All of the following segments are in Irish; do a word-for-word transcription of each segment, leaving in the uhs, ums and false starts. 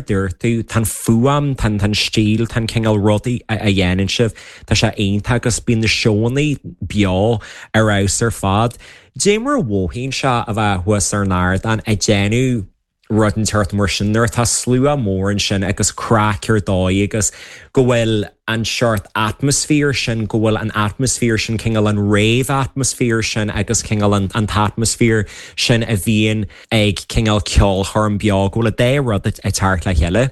Dúirt tú tá fuaim tá an stíl tá cineál rudaí a dhéanann sibh Tá sé iontach agus bíonn na seónna beo ar fheabhas ar fad. Dé mar a mhothaíonn sé a bheith thuas ar an ardán ag déanamh rud inteacht mar sin nuair atá slua mór ansin agus craic ar dóigh agus go bhfuil an seort atmaisféar sin go bhfuil an atmaisféar sin cineál an rave atmaisféar sin agus cineál an, an t-atmaisféar sin a bhíonn ag cineál ceolchoirm beo go bhfuil a dé rud ag teacht le chéile.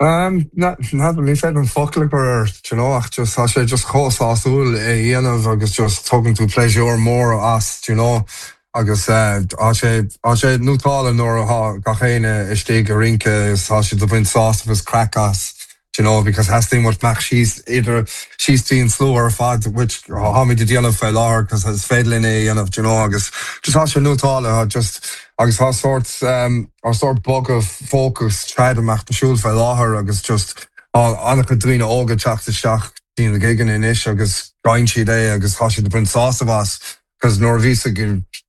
Um, na ní féidir an focal gur you know, ach just tá sé just chomh sásúil é dhéanamh agus just tugann tú pléisiúr mór as you know, agus tá sé sé nótála nuair atá gach éinne istigh ag rince is tá sé ag baint sásamh is craic as you know, because theastaigh muid amach síos idir síos tríd an slua ar fad which táimid ag déanamh fé láthair because is féidir linn é dhéanamh you know, agus just tá sé nótála just agus tá sort um, ar sort bogadh focus trad amach na siúl fé láthair agus just an-chuid daoine óga teacht isteach dtí na gigeanna anois agus gain siad é agus tá siad ag baint sásamh as cos nuair bhí ag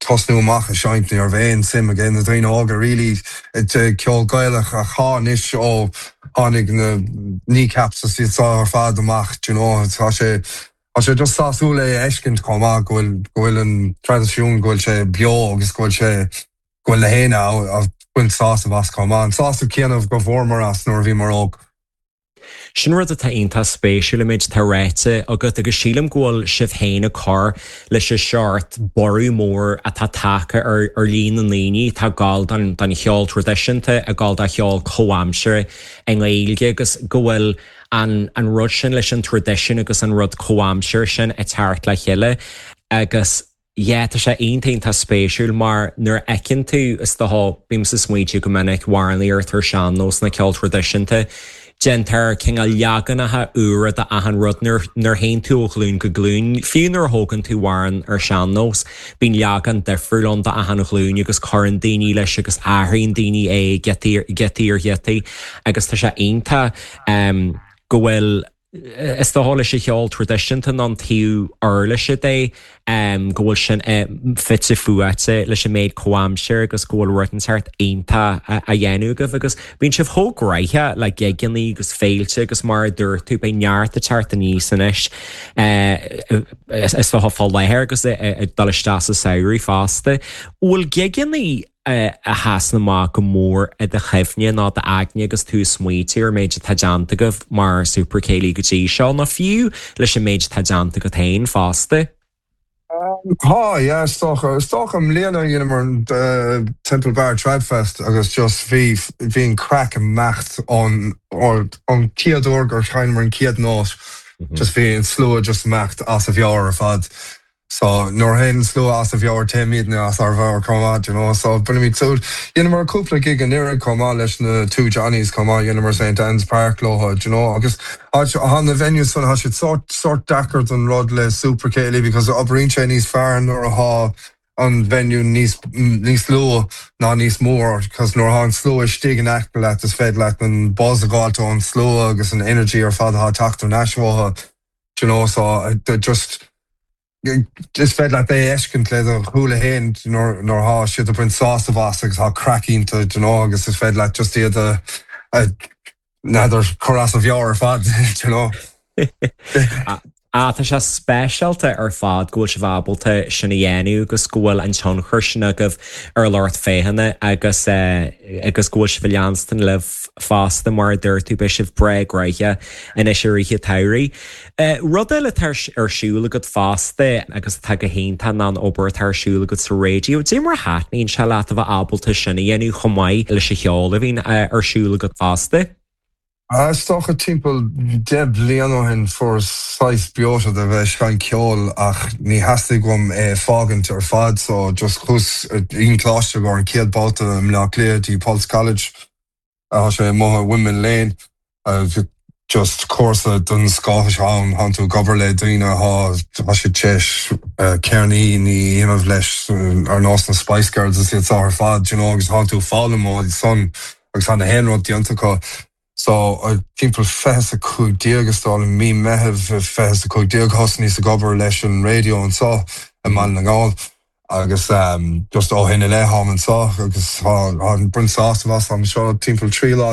tosnú amach a seinnt ní raibh aon suim ag na daoine óga really ceol Gaelach a cháis ó tháinig na Kneecaps is iad ar fad amach you know, tá sé Tá sé just sásúil é a fheiscint chomh maith go bhfuil go bhfuil an traidisiún go bhfuil sé beo agus go bhfuil sé go bhfuil na héinne ag baint sásamh as chomh maith. An sásamh céanna go bhfuaireamar as nuair a bhíomar óg. Sin rud atá iontach spéisiúil an méid atá ráite agat agus sílim go bhfuil sibh féin ag cur leis an seort borradh mór atá tagtha ar ar líon na ndaoine atá ag gabháil don don cheol traidisiúnta ag gabháil do cheol comhaimseartha i nGaeilge agus go bhfuil an an rud sin leis an traidisiún agus an rud comhaimseartha sin ag teacht le chéile agus yeah, tá sé iontach spéisiúil mar nuair a fheiceann tú is dócha bímse ag smaointiú go minic amhránaíocht ar sean-nós na ceol traidisiúnta déantar cineál leaganacha úra de achan rud nuair nuair théann tú ó ghlúin go glúin, fiú nuair a thógann tú amhrán ar sean-nós, bíonn leagan difriúil ann do achan ghlúin agus cuireann daoine leis agus athraíonn daoine é giotaí giotaí ar ghiotaí agus tá sé iontach um, go bhfuil is dócha leis an cheol traidisiúnta ná an taobh uirlise de um, go bhfuil sin uh, fite fuaite leis an méid comhaimseartha agus go bhfuil rud inteacht iontach a, a dhéanamh agaibh agus bíonn sibh chomh gnóthach le gigeanna agus féilte agus mar a dúirt tú beidh neart ag teacht aníos anois uh, is dócha fá láthair agus ag dul isteach sa samhradh fosta. Bhfuil gigeanna a sheasann amach go mór i do chuimhne ná d'aigne agus tú smaoitiú ar méid atá déanta agaibh mar Super Céilí go dtí seo nó fiú leis an méid atá déanta agat féin fosta. Tá yeah, is dócha is dócha i mbliana dheineamar an Temple Bar Tradfest agus just bhí bhí an craic amach an an chéad uair gur sheinneamar an chéad nót just bhí an slua just amach as a mheabhair ar fad. So nuair a théann slua as a mheabhair téimidne as ár meabhair chomh maith, you know, so bainimid súil Dheineamar cúpla gig anuraidh chomh maith leis na Two Johnnies chomh maith dheineamar St Anne's Park leo, you know, agus tá na venues san tá siad sort sort deacair don rud le Super Céilí because oibríonn sé níos fearr nuair atá an venue níos níos lú ná níos mór, cos nuair atá an slua istigh in aice leat is féidir leat an buzz a fháil ón slua agus an energy ar fad atá teacht thar n-ais uathu, you know, so uh, just is féidir leat é a fheiscint le do shúile féin nuair atá siad ag baint sásamh as agus tá craic iontach you know, agus is féidir leat just iad a n'fheadar chur as a mheabhair ar fad you know. Á tá sé speisialta ar fad go bhfuil sibh ábalta sin a dhéanamh agus go bhfuil an tionchar sin agaibh ar lucht féachana agus agus go bhfuil sibh ag leanstan libh fosta mar a dúirt tú beidh sibh breá gnóthach anois i rith an tsamhraidh. Rud eile atá ar siúl agat fosta agus atá go hiontach ná an obair atá ar siúl agat sa raidió, Dé mar a thaitníonn sé leat a bheith ábalta sin a dhéanamh chomh maith leis an cheol a bhíonn ar siúl agat fosta. Is dócha timpeall deich bliain ó shin fuair saghas breoite de bheith ag seinnt ceoil ach ní theastaigh uaim é fágaint ar fad so just chuas i gcoláiste go an chéad babhta i mBleá Cliath dtí Pulse College tá sé amuigh i Windmill Lane just cúrsa den scoth ann tá tú ag obair le daoine atá siad tar éis ceirníní a dhéanamh leis ar nós na Spice Girls is iad seo ar fad you know, agus tá tú ag foghlaim ó san agus tá na haon rud déanta acu. So timpeall fiche a cúig déag is dóigh mí Mheithimh fiche a cúig déag thosnaíos ag obair leis an raidió anseo i mBaile na nGall agus um, just ó shin i leith táim anseo agus tá baint sásamh as am seo timpeall trí lá